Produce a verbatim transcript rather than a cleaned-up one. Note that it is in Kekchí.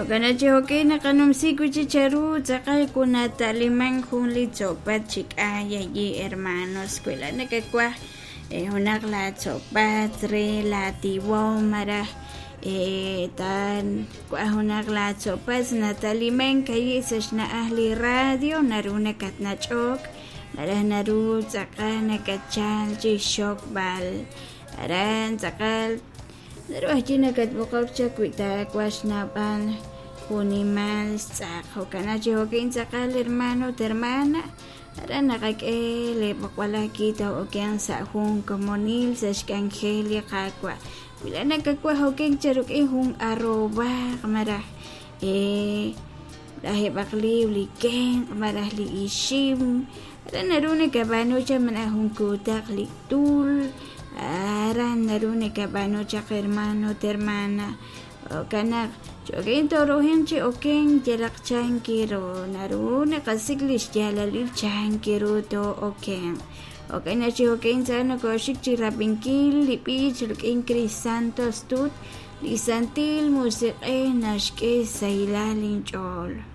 Jo'kan chi jo'kan naqanumsi wi' chik cheru tz'aqal kunata'liman jun li tzo'pat chi k'ay allí hermanos wi laa'at nakawaj junaq la tzo'pat re la tiwoom maraj tan waj junaq la tzo'pat nataliman ayi' sa' xna'aj li radio naru nakatnach'ok maraj naru tz'aqal nakatchal chi xxokb'al aran tz'aqal naru ajwi' nakatb'oqok chaq wi taawaj xnawb'al junimal xtz'aq jo'kan chi jo'kan tz'aqal hermano ut hermana aran naqak'e li b'oqb'al too'okenq sa' jun komonil sa' xk'anjel li Qaawa' wi laa'at nakawaj okenk cha rik'in jun arrobaj maraj lajeb'aq liwr li kenq' maraj li ixim aran naru nakab'aanu chaq malaj jun kuutaq li tul aran naru nakab'aanu chaq hermano ut hermana jo'kan naq cho'oken torujenq chi okenk yalaq chan kiru naru naqasik' li xyaalalil chan kiru too'okenq jo'kan naq chi jo'kan tz'aqal nokoxik chi rab'inkil li b'ich rik'in Cris Santos Tut li Santil Musiq'ej naxk'e xsahilal inch'ool.